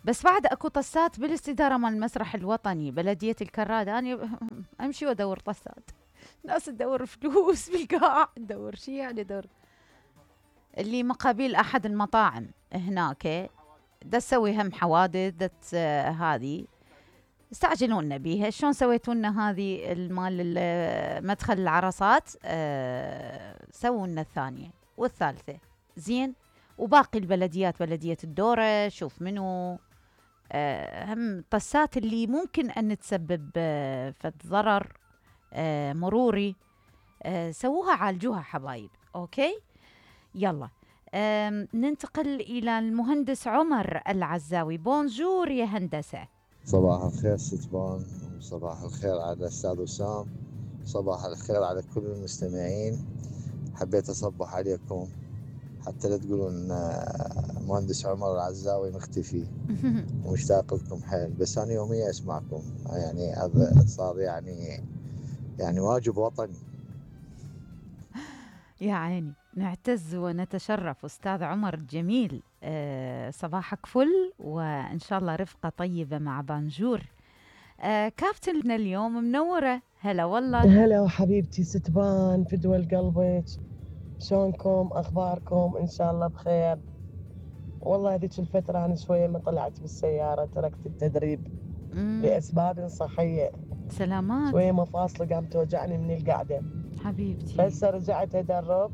بس بعد اكو طسات بالاستداره مال المسرح الوطني بلديه الكراد. انا امشي وادور طسات، ناس تدور فلوس بالقاع، ندور شي يعني ندور اللي مقابل احد المطاعم هناك دا تسوي هم حوادث هذه استعجلوا لنا بيها. شلون سويتوا لنا هذه المال مدخل العرصات؟ سووا لنا الثانيه والثالثه زين. وباقي البلديات، بلديه الدوره، شوف منو هم طسات اللي ممكن ان تسبب فد ضرر مروري، سووها عالجوها حبايب. اوكي يلا ننتقل الى المهندس عمر العزاوي. بونجور يا هندسه. صباح الخير ستبان، وصباح الخير على الأستاذ وسام، صباح الخير على كل المستمعين. حبيت أصبح عليكم حتى لا تقولون مهندس عمر العزاوي مختفي. ومشتاق لكم حيل، بس أنا يوميا أسمعكم، يعني هذا صار يعني واجب وطني. يا عيني نعتز ونتشرف أستاذ عمر الجميل. صباحك فل، وإن شاء الله رفقة طيبة مع بانجور. كابتن اليوم منورة. هلا والله. هلا وحبيبتي ستبان في دول قلبك، شلونكم؟ أخباركم؟ إن شاء الله بخير. والله هذيك الفترة أنا شوية ما طلعت بالسيارة، تركت التدريب لأسباب صحية. سلامات. شوية مفاصل قامت توجعني من القعدة حبيبتي. هسه رجعت أدرب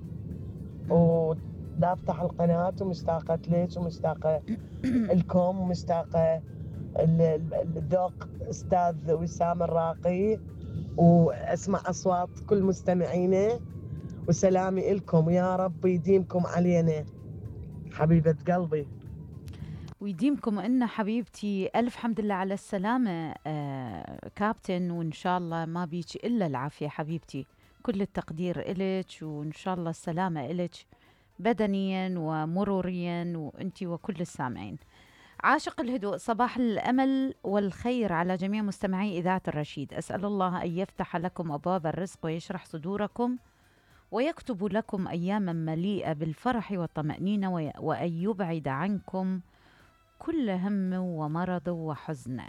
ودا أفتح القناة، ومشتاقة ليش ومشتاقة لكم، ومشتاقة الذوق أستاذ وسام الراقي، وأسمع أصوات كل مستمعينه، وسلامي إلكم، ويا رب يديمكم علينا حبيبة قلبي. ويديمكم إن حبيبتي. ألف حمد لله على السلامة كابتن، وإن شاء الله ما بيك إلا العافية حبيبتي. كل التقدير إلك، وإن شاء الله السلامة إلك بدنيا ومروريا، وأنتي وكل السامعين. عاشق الهدوء، صباح الأمل والخير على جميع مستمعي إذاعة الرشيد. أسأل الله أن يفتح لكم أبواب الرزق ويشرح صدوركم، ويكتب لكم أياما مليئة بالفرح والطمأنينة، وأن يبعد عنكم كل هم ومرض وحزن،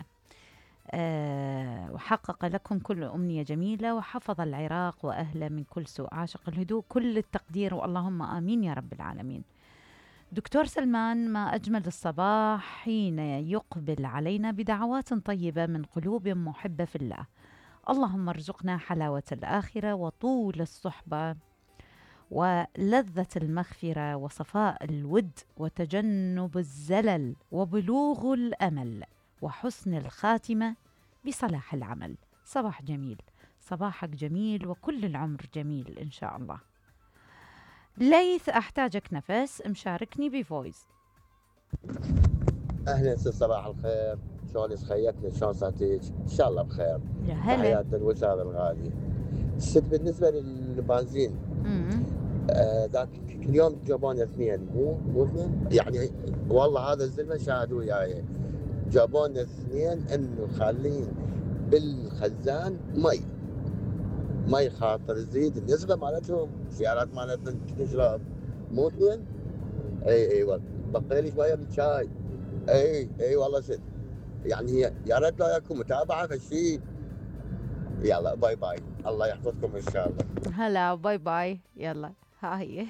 وحقق لكم كل أمنية جميلة، وحفظ العراق وأهله من كل سوء. عاشق الهدوء، كل التقدير، واللهم آمين يا رب العالمين. دكتور سلمان، ما أجمل الصباح حين يقبل علينا بدعوات طيبة من قلوب محبة في الله. اللهم ارزقنا حلاوة الآخرة وطول الصحبة ولذة المغفرة وصفاء الود وتجنب الزلل وبلوغ الأمل وحسن الخاتمة بصلاح العمل. صباح جميل، صباحك جميل، وكل العمر جميل إن شاء الله. ليث، أحتاجك نفس، مشاركني بفويس. أهلا صباح الخير، شلونك؟ خيتني، شلون صحتك؟ إن شاء الله بخير. يا هلا. تحيات الوسام الغالي. الست بالنسبة للبنزين ذاك اليوم جابون اثنين، مو اثنين يعني، والله هذا الزلمه شاهدوا وياي، جابون اثنين انه خالين بالخزان مي خاطر تزيد النسبه مالتهم، السيارات مالتنا تشرب، مو اثنين. اي والله بقي لي شويه بالشاي. اي والله ست، يعني هي يا ريت لا يكون متابعه فشي. يلا باي باي، الله يحفظكم ان شاء الله. هلا باي باي. يلا ها هي